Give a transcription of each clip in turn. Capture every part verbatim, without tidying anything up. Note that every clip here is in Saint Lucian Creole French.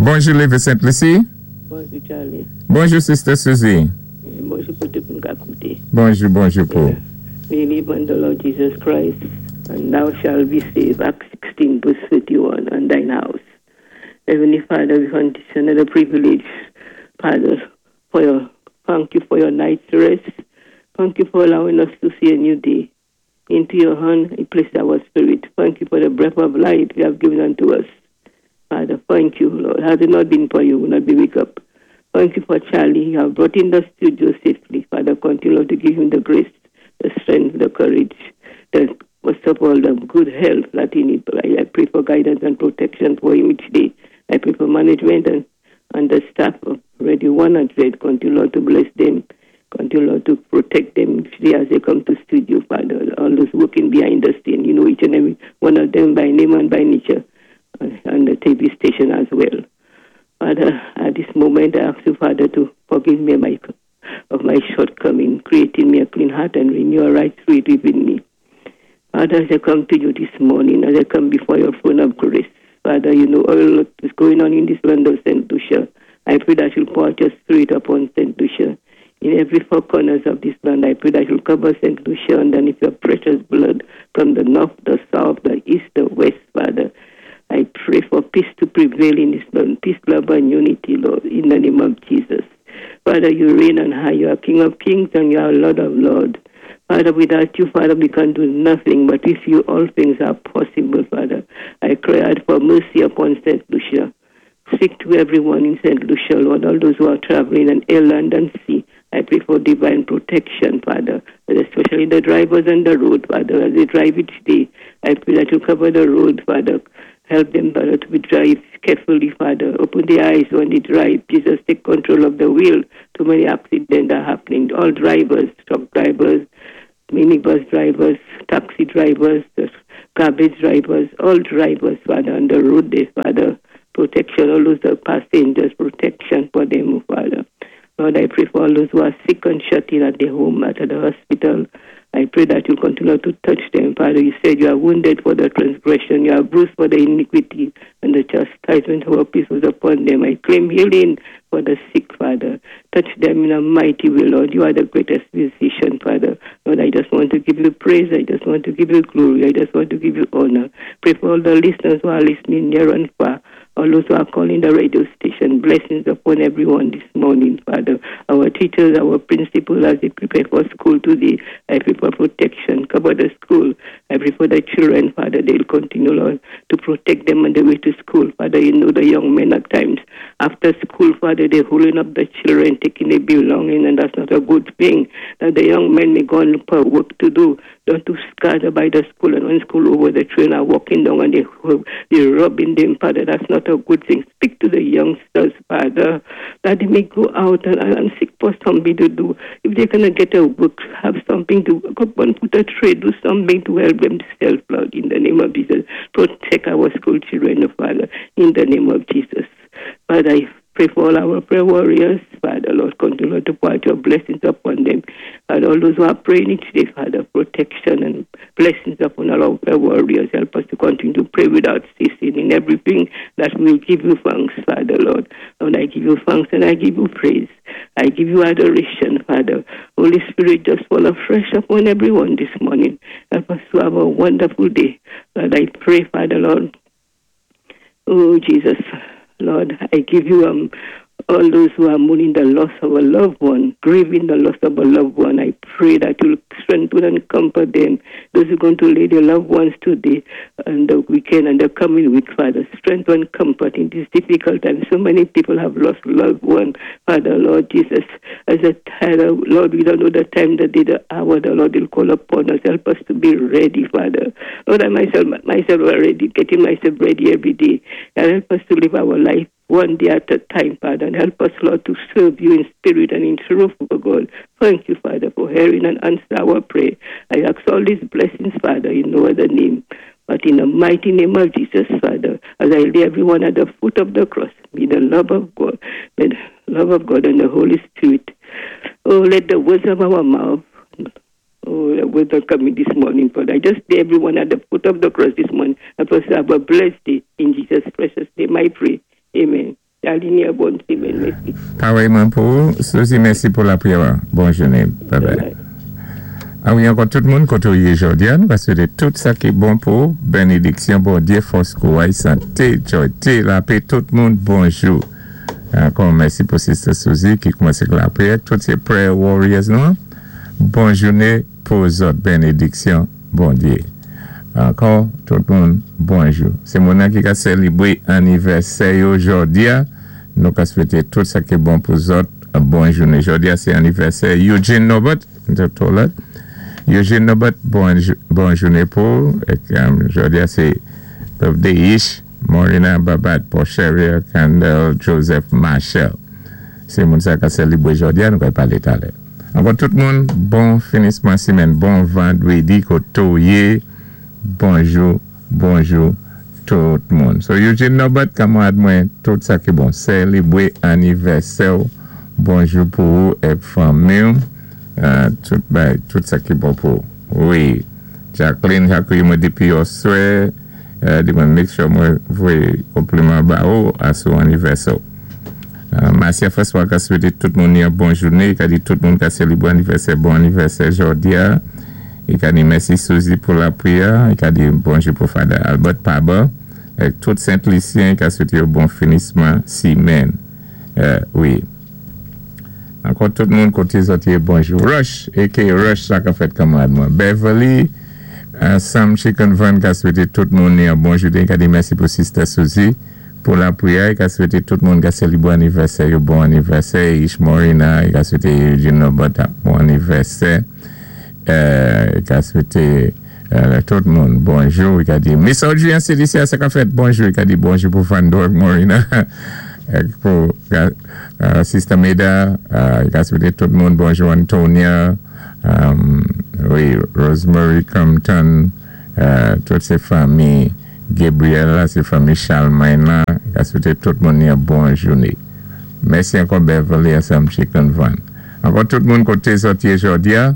Bonjou, Lévé Sent Lisi. Bonjou, Charlie. Bonjou, Sister Susie. Bonjou pou tout moun k ap kouté. Bonjou, bonjou, Paul. Believe on the Lord Jesus Christ, and thou shalt be saved. Acts sixteen, verse thirty-one, and thine house. Heavenly Father, we want this another privilege, Father, for your, thank you for your night's rest. Thank you for allowing us to see a new day. Into your hand I place our spirit. Thank you for the breath of life you have given unto us. Father, thank you, Lord. Had it not been for you, we would not be wake up. Thank you for Charlie. You have brought in the studio safely. Father, continue to give him the grace, the strength, the courage, the most of all, the good health that he needs. I, I pray for guidance and protection for him each day. I pray for management and, and the staff of Radio one hundred. Continue, Lord, to bless them. Continue, Lord, to protect them each day as they come to studio, Father. All those working behind the scene, you know each and every one of them by name and by nature, uh, and the T V station as well. Father, at this moment, I ask you, Father, to forgive me my, of my shortcoming, creating me a clean heart and renew a right spirit within me. Father, as I come to you this morning, as I come before your throne of grace, Father, you know all that is going on in this land of Saint Lucia. I pray that you'll pour out your spirit upon Saint Lucia. In every four corners of this land, I pray that you'll cover Saint Lucia underneath your precious blood from the north, the south, the east, the west, Father. I pray for peace to prevail in this land, peace, love, and unity, Lord, in the name of Jesus. Father, you reign on high. You are King of kings and you are Lord of lords. Father, without you, Father, we can do nothing, but with you, all things are possible, Father. I cry out for mercy upon Saint Lucia. Speak to everyone in Saint Lucia, Lord, all those who are traveling on air, land, and sea. I pray for divine protection, Father, especially the drivers on the road, Father, as they drive each day. I pray that you cover the road, Father. Help them, Father, to be drive carefully, Father. Open their eyes when they drive. Jesus, take control of the wheel. Too many accidents are happening. All drivers, truck drivers, minibus drivers, taxi drivers, garbage drivers, all drivers, Father, on the road there, Father. Protection, all those passengers, protection for them, Father. Lord, I pray for all those who are sick and shut in at the home, at the hospital. I pray that you continue to touch them. Father, you said you are wounded for the transgression, you are bruised for the iniquity, and the chastisement of our peace was upon them. I claim healing for the sick, Father. Touch them in a mighty way, Lord. You are the greatest physician, Father. Lord, I just want to give you praise. I just want to give you glory. I just want to give you honor. Pray for all the listeners who are listening near and far, all those who are calling the radio station. Blessings upon everyone this morning, Father. Our teachers, our principals, as they prepare for school today, I pray for protection. Cover the school. I pray for the children, Father. They'll continue, Lord, to protect them on the way to school. Father, you know the young men at times. After school, Father, they're holding up the children, taking their belongings, and that's not a good thing. That the young men may go and look for work to do. Don't to scatter by the school, and when school over, the children are walking down and they, they're robbing them, Father. That's not a good thing. Speak to the youngsters, Father, that they may go out and, and seek for something to do. If they cannot get a work, have something to go and put a trade, do something to help themselves, Lord, in the name of Jesus. Protect our school children, Father, in the name of Jesus. Father, I pray for all our prayer warriors, Father, Lord, continue to pour out your blessings upon them. Father, all those who are praying each day, Father, protection and blessings upon all our prayer warriors. Help us to continue to pray without ceasing in everything that we will give you thanks, Father, Lord. Lord, I give you thanks and I give you praise. I give you adoration, Father. Holy Spirit, just fall afresh upon everyone this morning. Help us to have a wonderful day. Lord, I pray, Father, Lord. Oh, Jesus, Lord, I give you um, all those who are mourning the loss of a loved one, grieving the loss of a loved one. I pray that you'll strengthen and comfort them. Those who are going to lay their loved ones today and the weekend and the coming week, Father, strengthen and comfort in this difficult time. So many people have lost loved one, Father, Lord Jesus. As a time, Lord, we don't know the time, the day, the hour the Lord will call upon us. Help us to be ready, Father. Lord, I myself, myself already getting myself ready every day. And help us to live our life one day at a time, Father, and help us, Lord, to serve you in spirit and in truth, oh God. Thank you, Father, for hearing and answer our prayer. I ask all these blessings, Father, in no other name, but in the mighty name of Jesus, Father, as I lay everyone at the foot of the cross, may the love of God, may the love of God and the Holy Spirit, oh, let the words of our mouth, oh, the words are coming this morning, Father. I just lay everyone at the foot of the cross this morning. Help us to have a blessed day. In Jesus' precious name, I pray. Amen. Ni yon bon simenn, mèsi. Parèyman pou ou. Suzy, mèsi pou lapriyè. Bon jounen. Bye bye. A wi, ankò tout moun, koté ou yé jòdi a, nou va swété tout sa ki bon pou ou. Bénédiksyon, Bondyé, fòs, kouray, santé, jòyté, lapè, tout moun, bonjou. Ankò mèsi pou Sister Suzy ki koumansé lapriyè. Tout sé prayer warriors nou. Bon jounen pou zòt. Bénédiksyon, Bondyé. Ankò, tout moun, bonjou. Sé moun ki ka sélébwé anivèsè yo jòdi a. Nou ka swété tout sa ki bon pou zòt. Bon jounen. Jòdi a, sé anivèsè Eugene Norbert. Eugene Norbert, bon, bon jounen pou. Um, jòdi a, sé birthday Ish, Morina Babat, Porcheria, Candel, Joseph Marshall. Sé moun sa ka sélébwé jòdi a, nou ka palé talè. Ankò tout moun, bon finisman simenn, bon vandwédi, koté ou yé, bonjou, bonjou, tout moun. So Eugene Norbert, kanmarad mwen, tout sa ki bon, sélébwé anivèsè, bonjou pou ou é fanmi, euh, tout, ben, tout sa ki bon pou ou. Wi, Jacqueline, Jacqueline, mwen dépi yèswa, euh, di mwen make sure mwen voyé konpliman ba ou a sou anivèsè. Euh, Marcia François ka swété tout moun yon bon jounen, i ka di tout moun ka sélébwé anivèsè, bon anivèsè jòdi a. I ka di mèsi Suzy pou lapriyè, i ka di bonjou pou Father Albert Paba, é tout Sent-Lisyen ka swété yon bon finisman simenn. Euh, wi. Ankò tout moun koté zòt yé bonjou. Rush, aka Rush, sa ka fèt kanmarad mwen. Beverly, euh, Sam Chicken Van ka swété tout moun yon bon jounen, ka di mèsi pou Sister Suzy pou lapriyè, ka swété tout moun ka sélébwé anivèsè, yon bon anivèsè, Ish Morina, ka swété Eugene Norbert bon anivèsè, euh, ka swété euh, tout moun bonjou, ka di Miss Audrey C D C, sa ka fèt bonjou, ka di bonjou pou Fandor Morina, pou uh, Sister Meda, uh, ka swété tout moun bonjou, Antonia, um, wi, Rosemary Compton, uh, tout sé fanmi Gabriel, sé fanmi Charlemagne la, ka swété tout moun yon bon jounen. Mèsi ankò Beverly Sam Chicken Van. Ankò tout moun koté zòt yé jòdi a,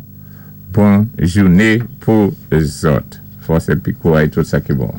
bon jounen pou zòt. Fòs épi kouray, tout sa ki bon.